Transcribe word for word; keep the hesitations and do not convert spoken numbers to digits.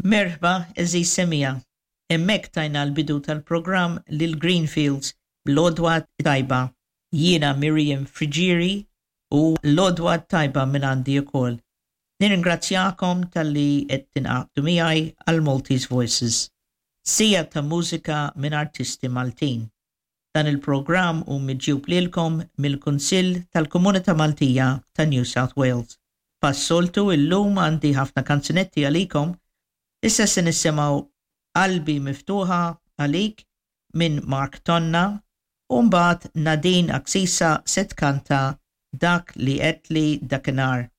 Merħba, għeżież semmiegħa. Hemmhekk tajna l-bidu tal-programm lil Greenfields bl-Għodwa Tajba. Jiena Miriam Friggieri u l-Għodwa Tajba minn għandi ukoll. Nirringrazzjakom talli qed tingħaqdu miegħi għal Maltese Voices. Siegħa ta' mużika minn artisti Maltin. Dan il-programm hu miġjub lilkom mill-Kunsill tal-Komunità Maltija ta' New South Wales. Bħas-soltu illum għandi ħafna kanzunetti għalikom. Issa se nisimgħu Qalbi Miftuħa Għalik minn Mark Tonna u mbagħad Nadine Axisa se tkanta Dak li Għedtli Dakinhar.